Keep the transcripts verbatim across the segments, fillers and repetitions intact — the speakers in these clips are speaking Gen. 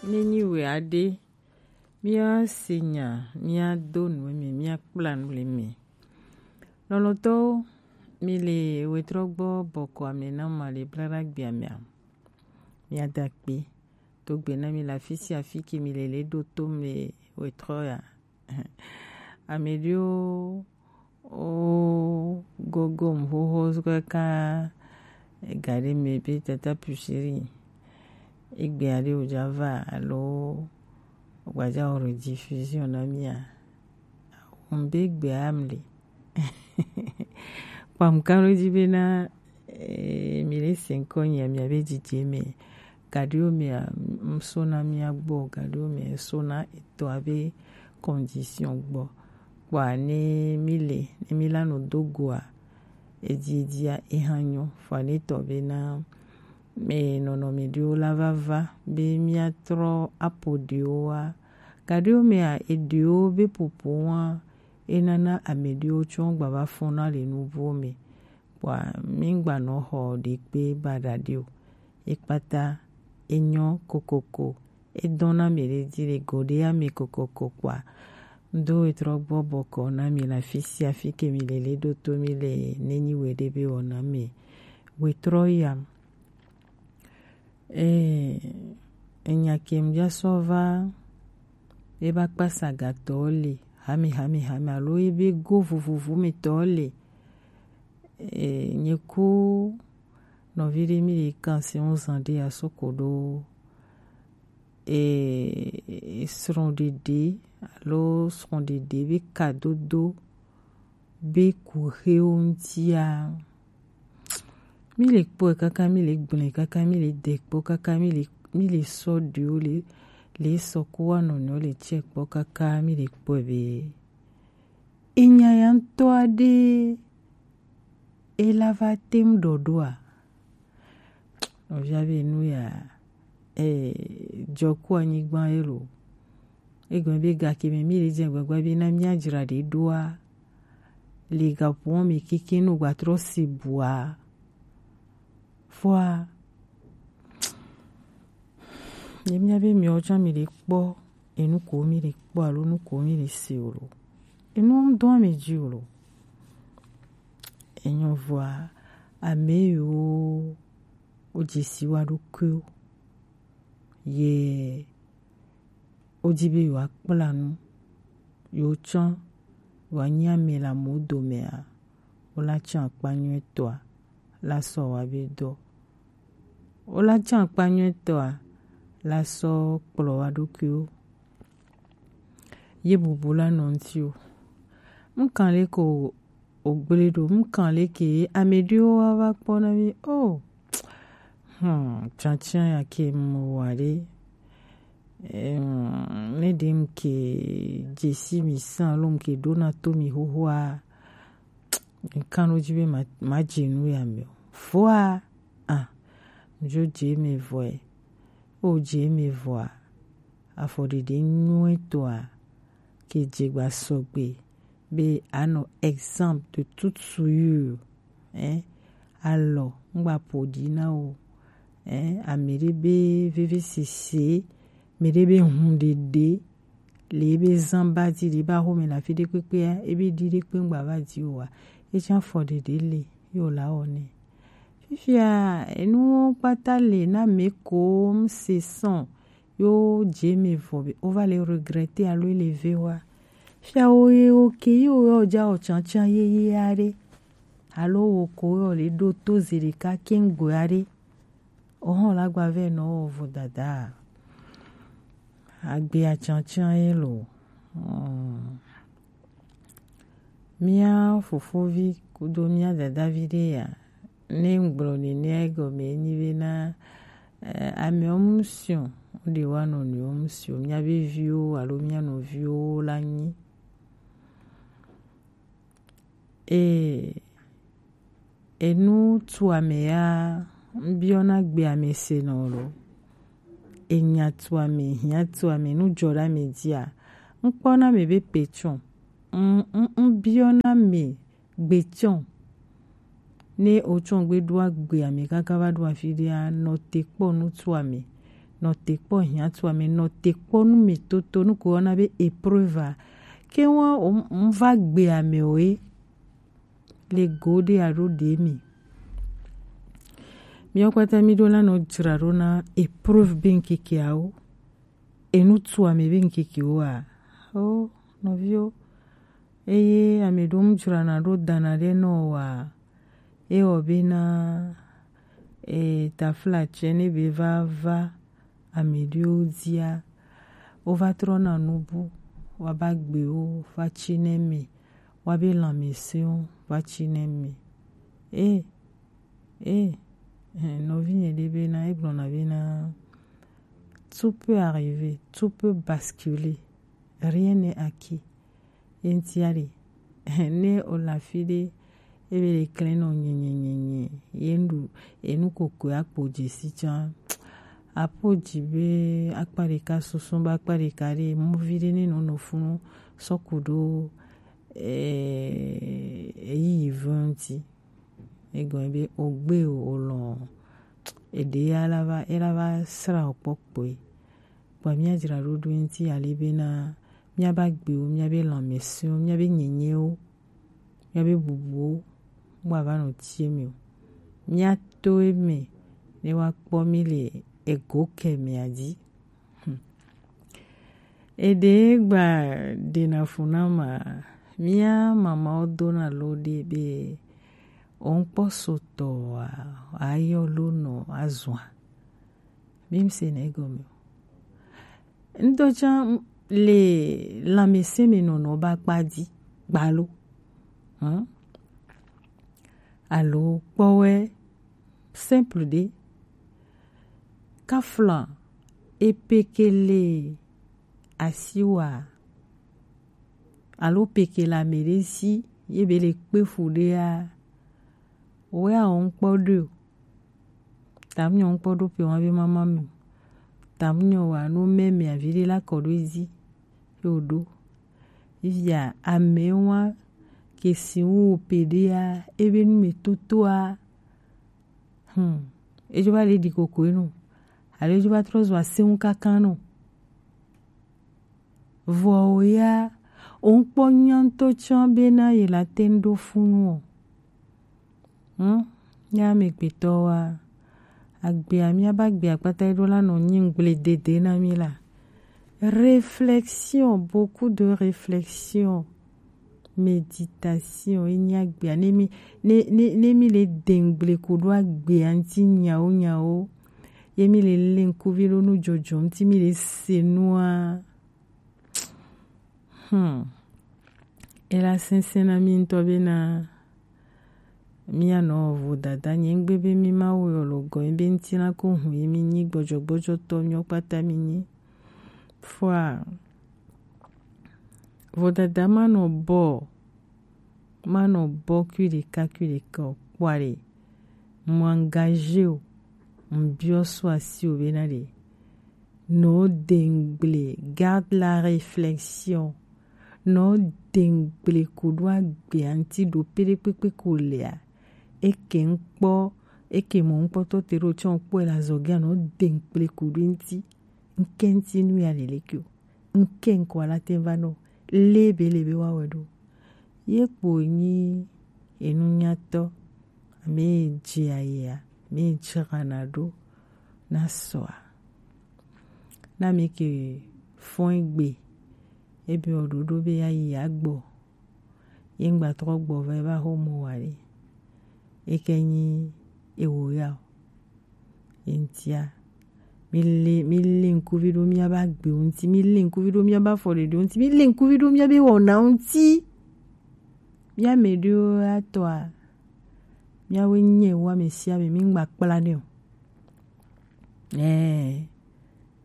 Ne nyi we aɖe, míase nya, míado nu eme, míakpla nu le eme. Lɔlɔ̃tɔwo, mi le wetrɔ gbɔ bɔkɔ ame na ma le blaɖagbe amea. Míada akpe. Do gbe na mi le afi sia afi ke mi le le ɖo to mi le wetrɔ ya. Ame ɖewo wo gogo xoxo kaka ega ɖe me be tata pushiri egbe aɖe wòdza va alo wògbadza wɔ rediffusion na mía. Ŋbe gbea mli. Kpam kan ɖo dzi bena, eh, mi le se ŋkɔ nyia mia be dzidzi me. Gaɖewo mea, ŋsona mia gbɔ, gaɖewo mea, ŋsona etɔ abe condition gbɔ. Kpɔa ne mi le, ne mi la nɔ do goa, edzi, edzia, eha nyɔ. Fua ne tɔ bena, me nɔnɔme ɖewo la va va be míatrɔ apo ɖewoa. Gaɖewo mea, eɖewo be popo wa, enana ame ɖewo tsɔ gbava fɔna le nuvowo me. Kpɔa mi gbanɔ xɔ ɖekpe baɖa ɖi o. Ekpata, enyɔ kokoko, edɔna mi ɖe dzi le go ɖe ame kokoko kpɔa. Ŋdo etrɔ gbɔ bɔkɔ na mi le afi sia afi ke mi le le ɖo to mi le ne nyi we ɖe be wɔna me. Wetrɔ yam. Eh, enya ke ŋdza sɔ va, eba kpasa gatɔ le, hame, hame, hame, alo ebe go vovovo me tɔ le. Eh, nye ku nɔvi ɖe mi ɖe kan si ŋu zan ɖe asoko ɖo, eh, srɔ̃ɖeɖe alo srɔ̃ɖeɖe be kadodo be kuxewo ŋutia. Mi le kpɔe kaka, mi le gblẽ kaka, mi le de kpɔ kaka, mi le, mi le sɔ ɖewo le, le sɔ ko wa nɔnɔewo le tsɛ kpɔ kaka, mi le kpɔe be enya ya ŋutɔ aɖe ela va tem ɖɔɖoa. Nɔvia be nu ya, eh, jɔ ku anyigba ye lo. Egɔme be gake me mi le dze gbagba be na mia dzra ɖe ɖoa, le gaƒoa me keke no gbatrɔ si bua. Fua, ye mia be miawo tsã mi le kpɔ, enu ko mi le kpɔ alo nu ko mi le se o lo. Enu ŋdɔ mi dzi o lo. Enyo vɔa, ame yiwo wodze si wa ɖokuiwo ye wodi be yewoakpla nu, yewotsã, yewoanyi ame le amewo domea, wola tsã akpa nyuietɔa, la sɔ wa be dɔ. Wola tsã akpa nyuietɔa, la sɔ kplɔ wa ɖokuiwo. Ye bubu la nɔ ŋuti o. Ŋkan le ko wògblẽ ɖo, ŋkan leke ame ɖewo wa va kpɔ na mi? Oh, hmm, tsantsan ya ke mu wa ɖe. Em, ne ɖe ŋke dzesi mi san alo ŋke ɖona to mi xoxoa, ŋkan ɖo dzi be ma, ma dze nu ya me o. Vɔa, ah, ŋdzo dze me vɔe. O dze me vɔa, afɔɖeɖe nyuietɔa ke dze gba sɔgbe be anɔ exemple de toute souillure, hein, alɔ ŋgba ƒo ɖi na o, hein, ame ɖe be vevesese, ame ɖe be hũɖeɖe le ebe zã ba dzi le ebe axome le afi ɖe kpekpea, ebe ɖi ɖe kpe ŋgba va dzi oa, etsã afɔɖeɖe le ye wòla wɔ nɛ. Fifia enuwo kpata le na ame ko ŋse sɔn yo dze me vɔ be wova le regretter alo ele ve wa. Fia wo ye wo ke yi wo yɔ dza o tsantsan yeye aɖe. Alo wo ko yɔ le ɖo to ze ɖeka keŋ gbe aɖe. Ohɔn la gba vɛ nɔ wo vo dada. Agbe atsantsan ye lo. Hmm. Mía fofovi kudo mía dadavi ɖe ya, ne ŋgblɔ nenea egɔme enyi bena, eh, amewo mu siɔ, woɖe wa nɔnɔewo mu siɔ, míabe viwo alo mía nɔviwo la nyi. Ee, enu tu ame ya, ŋbiɔna gbe ame se nɔ lo. Enya tu ame, hiã tu ame, nu dzɔ ɖe ame dzia, ŋkpɔna ame be pe tsɔ. Ŋ, ŋ, ŋbiɔna ame gbe tsɔ. Ne wotsɔ gbe ɖo agbe ame kaka va ɖo afi ɖea, nɔ te kpɔ nu tu ame. Nɔte kpɔ hiã tu ame, nɔte kpɔ nu me toto, nu ko wɔna be épreuve a. Ke wa o, n va gbe ame o e. Le go ɖe alo ɖe mi. Miawo kpata mi ɖo la nɔ dzra ɖo na épreuve be ŋkeke awo. Enu tu ame be ŋkeke wo a. O, nɔviwo. Eye ame ɖewo mu dzrana ɖo dana ɖe nɔ o a. Ewɔ bena, e, taflatse ne be va va ame ɖewo dzia, wova trɔna nubu, waba gbewo va tsi ne me, wabe lãmesẽwo va tsi ne me. E, e, e, nɔvinye ɖe bena, egblɔna bena, tout peut arriver, tout peut basculer, rien n'est acquis. Ye ŋutia ɖe, ne wòle afi ɖe, ebe ɖe klẽ nɔ nyenyenyenye, ye nu ɖu, enu kokoe akpo dze si tsã. Apo dzi be akpa ɖeka susu be akpa ɖeka ɖe, muvi ɖe ne nɔ nɔ funu sɔ ku ɖo, eh, eyiyi ve ŋuti. Egɔme be ogbe o, olɔ̃, eɖe ya la va, ela va sra o kpɔ kpɔe. Kpɔ mía dzra ɖo ɖo ŋuti ale bena míaba gbewo, míabe lãmesẽwo, míabe nyenyewo, míabe bubuwo, mu ava nɔ tie mi o. Míato eme ne woakpɔ mí le ego kɛ mea dzi. Hmm. Eɖe gba ɖena fu na ma, mía mamawo dona lo ɖe be, òun kpɔ sotɔ wa, ayɔ lo nɔ azua. Mi se na egɔme o. Ŋdɔ tsã le lãmesẽ me nɔnɔ ba kpa dzi gbalo. Hum? Alo kpɔwɛ simple ɖe. Kafla epekele asiwa alo pekele ame ɖe si ye be le kpe fu ɖea, wɛ awɔ ŋkpɔ ɖo. Tam nyɔ ŋkpɔ ɖo pe wa be mama mi. Tam nyɔ wa no mɛ mɛ avi ɖe la kɔ ɖo edzi. Yo ɖo. Via ame wa ke si wo pe ɖea, ebe nu me totoa. Hmm. Edzo va le ɖi koko enu. Alo edzo va trɔ zɔ aseŋu kaka nɔ. Vɔ o ya, o ŋkpɔ nya ŋutɔ tsã bena ye la te ŋu ɖo funu o. Hmm? Nya amegbetɔ wa, agbea, míaba gbea kpata ɖo la nɔ nyi ŋgble dede na mí la. Réflexion, beaucoup de réflexion. Méditation, ye nyi agbea. Ne mi, ne, ne, ne mi le de ŋgble ku ɖo agbea ŋuti nyawo nyawo, ye mi le le ŋkuvi ɖo nu dzɔdzɔ ŋuti mi le se nua. Hmm. Ela sɛnsɛn na mi ŋutɔ bena mianɔ vodada nye ŋgbe be mi ma wo yɔ lo gɔ be ŋuti na ko hu ye mi nyi gbɔdzɔgbɔdzɔtɔ nyɔ kpata mi nyi. Fua, vodada ma nɔ bɔ, ma nɔ bɔ kui ɖeka kui ɖeka o, kpɔa ɖe, mo engagé o, ŋbiɔ so asi o bena ɖe, nɔ de ŋgble, garde la réflexion, nɔ de ŋgble ko ɖo agbea ŋuti ɖo pe ɖe kpekpe ko lea, eke ŋkpɔ, eke mɔ ŋkpɔtɔ te ɖo tsɔ kpɔe le azɔgea nɔ de ŋgble ko ɖo ŋuti. Ŋke ŋuti nu ya leleke o. Ŋke ŋkɔ ala te va nɔ. Le be le be wa wɛ ɖo. Ye kpo nyi enunyatɔ, ame dze ayea, ame dzrana ɖo na sɔa. Na mi ke fɔn egbe, ebe o ɖoɖo be ya yi agbɔ. Ye ŋgba trɔ gbɔ va eva xo mo wa ɖe. Eke nyi ewo ya o. Ye ŋutia, mi le, mi le ŋkuvi ɖo miaba gbewo ŋuti, mi le ŋkuvi ɖo miaba afɔɖeɖewo ŋuti, mi le ŋkuvi ɖo miabe wɔnawo ŋuti. Mia me ɖewo atɔa, miawoe nye wo ame sia ame, mi ŋgba kpla nɛ o. Ɛɛ,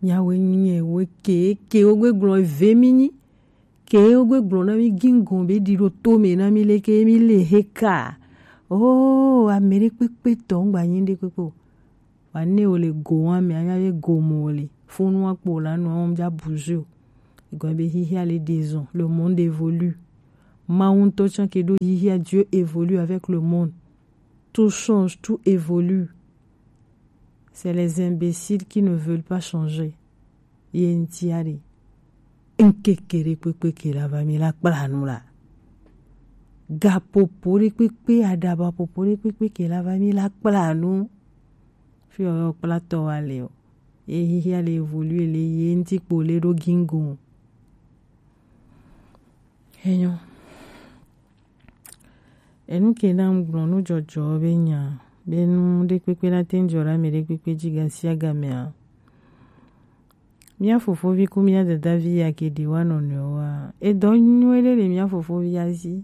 miawoe nye wo ke, ke wo gbe gblɔ ve mi nyi. Ke wo gbe gblɔ na mi gingo be ɖi ɖo to me na mi leke mi le he ka. Oh, ame ɖe kpekpe tɔ ŋgba nyi ɖe kpekpe o. Wa ne wo le go wa me anya be go mo wo le. Fonu wa kpo la no wa ja buzu. Egɔme be hihia le dezɔn. Le monde évolue. Mawu ŋutɔ tsã ke ɖo hihia, Dieu évolue avec le monde. Tout change, tout évolue. C'est les imbéciles qui ne veulent pas changer. Ye ŋuti aɖe. Ŋkeke ɖe kpekpe ke la va mi la kpla nu la. Gapopo ɖe kpekpe, aɖaba popo ɖe kpekpe ke la va mi la kpla nu. Fi ɔyɔ kpla tɔ wa le o. Ye hihia le évoluer le ye ŋuti kpo le ɖo gingo. Enyo. Enu ke na ŋgblɔ nu jɔjɔ be nya be nu ɖekpekpe na te ŋdzɔ ɖe ame ɖekpekpe dzi gasiagamea. Mía fofovi ku mía dadavi ya ke ɖi wa nɔnɔewoa, edɔ nyuie ɖe le mía fofovi ya zi.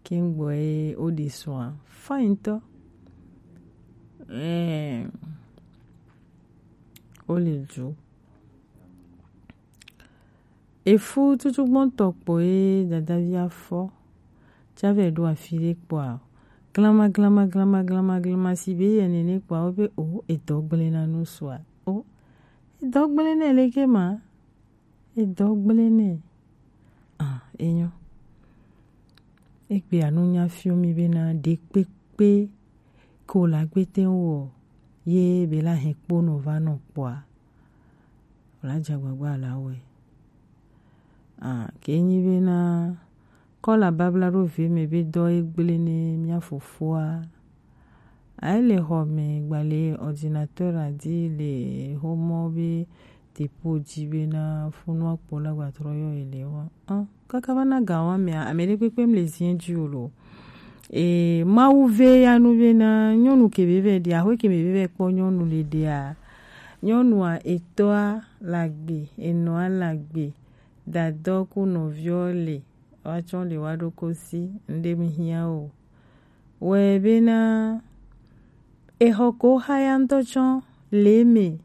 Ke ŋgbɔ ye wo ɖi sɔa. Fine tɔ. Ɛɛ. Wo le dzo. Efu tutugbɔntɔ kpo ye dadavia fɔ. Tsavɛ ɖo afi ɖe kpɔa, glama, glama, glama, glama, glama, si be yɛ nene kpɔa, wo be o, edɔ gblẽ na nu sua. O, edɔ gblẽ nɛ leke ma? Edɔ gblẽ nɛ. Ah, enyo. Egbe anu nya fio mi bena ɖekpekpe ko la gbete wɔ ye be la hɛn kpo nɔ va nɔ kpɔa. Wòla dze agbagba la wɔe. Ah, ke nyi bena kɔla babla ɖo ve me be dɔ ye gblẽ ne mía fofoa. Ayi le xɔ me gbalẽ ordinateur a di le xomɔ be tepo dzi bena funua kpo la gbatrɔ yɔ ye le wa. Ah, kaka va na ga wa mea, ame ɖe kpekpe mle ziɛ dzi o lo. E, Mawu ve ya nu bena nyɔnu ke be vɛ ɖi, axwe ke be vɛ kpɔ nyɔnu le ɖia. Nyɔnua etɔa la gbe, enɔa la gbe, dadɔ ku nɔviɔ le, wa tsɔ le wa ɖo kosi, ŋɖe mi hiã o. Wɛ bena exɔ ko xa ya ŋutɔ tsɔ le me,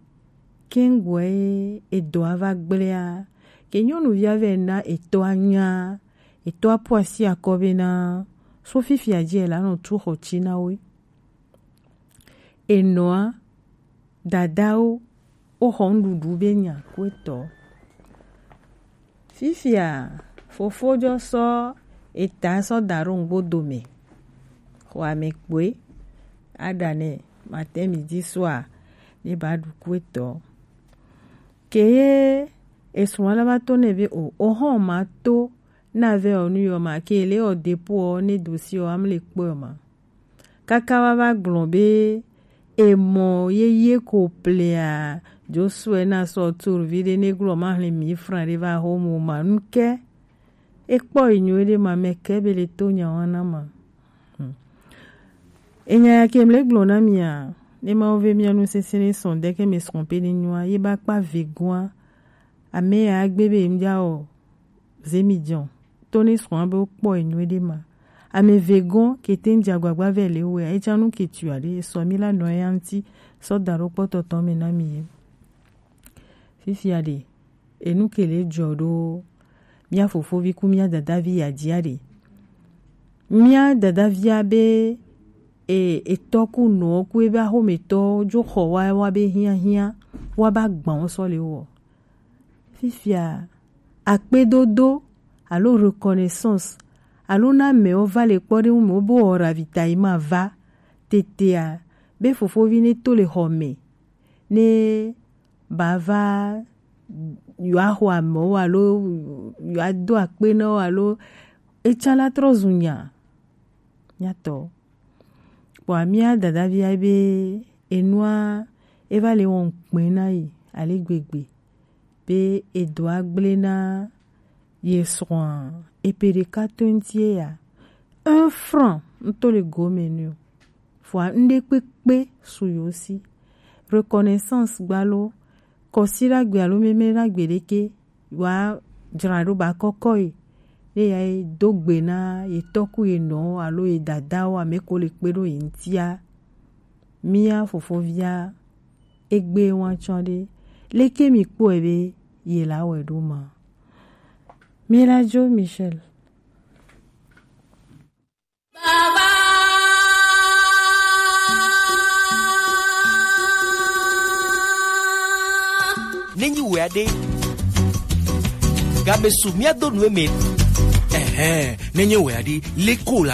ke ŋgbɔe edɔa va gblẽa, ke nyɔnuvia vɛ na etɔa nya, etɔa ƒo asi akɔ bena, so fifia dzi ela nɔ tu xɔ tsi na wo. Enɔa, dadawo, wo xɔ nuɖuɖu be nya ku etɔ. Fifia, fofo jɔ sɔ eta sɔ da ɖo ŋgbo dome. Xɔ ame kpoe, aɖa nɛ, matin midi soir, ne ba ɖu ku etɔ. Ke ye esrɔ̃ la va to nɛ be o, o hɔn ma to na vɛ o nu yɔ ma ke le o dépôt o ne dossier o am le kpɔe o ma. Kaka wa va gblɔ be emɔ yeye ko plea, Josué na sɔ tur vi ɖe ne gblɔ ma hle mi fran ɖe va ho mo ma nu ke. Ekpɔ enyo ɖe ma me ke be le to nya wa na ma. Hmm. Enya ya ke mle gblɔ na mia, ne ma wo ve mia nu sese ne sɔn de ke me sɔn pe ne nyua, ye ba kpa vegoa, ame ya gbe be mja o, zemi jɔn. To ne sɔn be wo kpɔ enyo ɖe ma. Ame vegoa ke te ŋdze agbagba vɛ le wo ya, etsa nu ke tu aɖe, esɔ mi la nɔ ya ŋuti, sɔ da ɖo kpɔtɔtɔ me na mi ye. Fifia ɖe, enu ke le dzɔ ɖo mía fofovi ku mía dadavi ya dzia ɖe. Mía dadavia be e, etɔ ku nɔ ku ebe axometɔ dzo xɔ wa wa be hiahiã wa ba gbã wo sɔ le wɔ. Fifia akpedodo alo reconnaissance alo na amewo va le kpɔ ɖe ŋu me wo be wɔ ravitaillement va tetea be fofovi ne to le xɔ me ne ba va yewoaxɔ amewo alo yewoado akpe na wo alo etsã la trɔ zu nya nyatɔ. Kpɔa mía dadavia be enua eva le wɔm kpɛ na yi ale gbegbe be edɔa gblẽ na ye srɔ̃a epe ɖeka to ŋuti eya. Un franc ŋutɔ le gome nɛ o. Vɔa ŋɖe kpekpe su yewo si. Reconnaissance gbalo, kɔsiɖagbe alo mɛmɛɖagbe ɖeke wa dzra ɖo ba kɔkɔ yi. Ne ya yi do gbe na ye tɔ ku ye nɔ alo ye dadawo ame ko le kpe ɖo ye ŋutia. Mía fofovia egbe wa tsɔ ɖe. Leke mi kpɔe be ye la wɛ ɖo ma? Mi la dzo Michel. Nenyi wɛ aɖe game su mía do nu eme. Ɛhɛn, nenye wɛ aɖe leko la.